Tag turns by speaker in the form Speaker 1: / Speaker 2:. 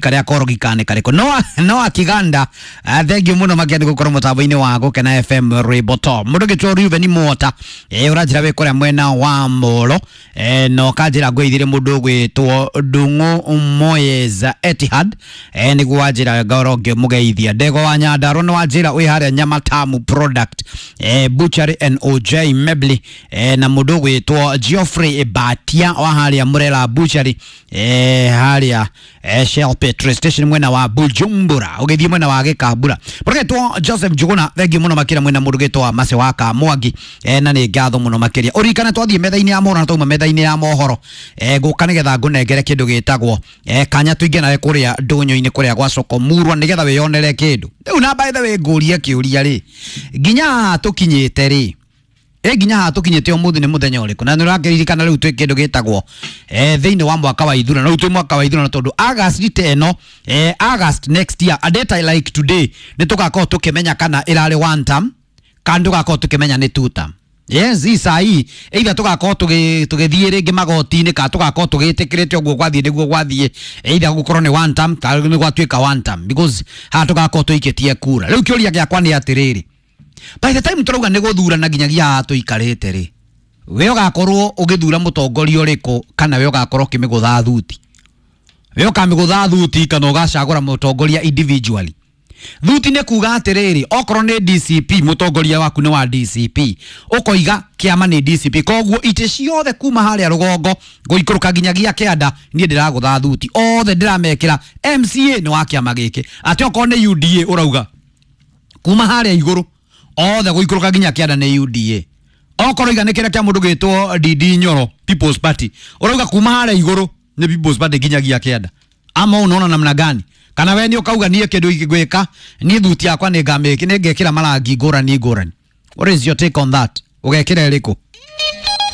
Speaker 1: Karia korogi kane kariko no no akiganda. Thank you muno makia ni gukorwo mutambo-ini wa Gukena FM Rwimbo mundu gitwo Reuben Mwota, uranjira wi kuria mwena wa Molo, no kanjira ngwithire mundu gwitwo Ndungu Moyes Etihad, niguo wanjira ngorwo ngimugeithia. Ndego wa Nyandarua ni wanjira wi haria Nyamatamu Product, Butchery and OJ Mebli, na mundu gwitwo Geoffrey Batia wa haria Murera Butchery, haria Shell Petrol Station mwena wa Bujumbura ugithie mwena wa Gikambura. Mũrũgĩtwo Joseph Njuguna, thengiũ mũno makĩria mwena mũrũgĩtwo Mase wa Kamwangi, na nĩ ngatho mũno makĩria. Ũririkane twathiĩ metha-inĩ ya mohoro na twauma metha-inĩ ya mohoro, ngũka nĩgetha ngũnengere kĩndũ gĩtagwo kanya tũingĩ nawe kũrĩa ndũnyũ-inĩ kũrĩa gwa soko murwa nĩgetha wĩyonere kĩndũ rĩu. Na by the way, ngũrie kĩũria rĩ, nginya haha tũkinyĩte rĩ, nginya haha tũkinyĩte ũmũthĩ nĩ mũthenya ũrĩkũ? Na nĩ ũrakĩririkana rĩu twĩ kĩndũ gĩtagwo thĩinĩ wa mwaka wa ithurano, rĩu twĩ mwaka wa ithurano tondũ August ta ĩno, August next year, a date like today, nĩ tũgakorwo tũkĩmenya kana ĩrarĩ one term kana tũgakorwo tũkĩmenya nĩ two term. Yes, hii saa hii either tũgakorwo tũgĩthiĩ rĩngĩ magoti-inĩ kana tũgakorwo tũgĩtĩkĩrĩte ũguo gwathiĩ nĩguo gwathiĩ, either gũkorwo nĩ one term kana nĩ gwatuĩka one term, because haha tũgakorwo tũikĩtie kura. Rĩu kĩũria gĩakwa nĩ atĩrĩrĩ, by the time tũrauga nĩ gũthurana nginyagia haha tũikarĩte rĩ, we ũgakorwo ũgĩthura mũtongoria ũrĩkũ kana we ũgakorwo ũkĩmĩgũtha thuti? We ũkamĩgũtha thuti kana ũgacagũra mũtongoria individually? Thuti nĩ kuga atĩrĩrĩ, okorwo nĩ DCP, mũtongoria waku nĩ wa DCP, ũkoiga kĩama nĩ DCP, koguo itĩ ciothe kuma harĩa rũgongo gũikũrũka nginyagia kĩanda niĩ ndĩragũtha thuti, othe ndĩramekĩra MCA nĩ wa kĩama gĩkĩ. Atĩ okorwo nĩ UDA, ũrauga kuma harĩa igũrũ othe gũikũrũka nginya kĩanda nĩ UDA. Okorwo iga nĩ kĩrĩa kĩa mũndũ gĩtwo DD Nyoro, People's Party, ũrauga kuma harĩa igũrũ nĩ People's Party nginyagia kĩanda. Ama unaona namna gani? Kana we nĩ ũkauga niĩ kĩndũ ingĩgwĩka niĩ thuti yakwa nĩ ngamĩki nĩ ngekĩra marangi ngũrani ngũrani? What is your take on that? Ũgekĩra ĩrĩkũ?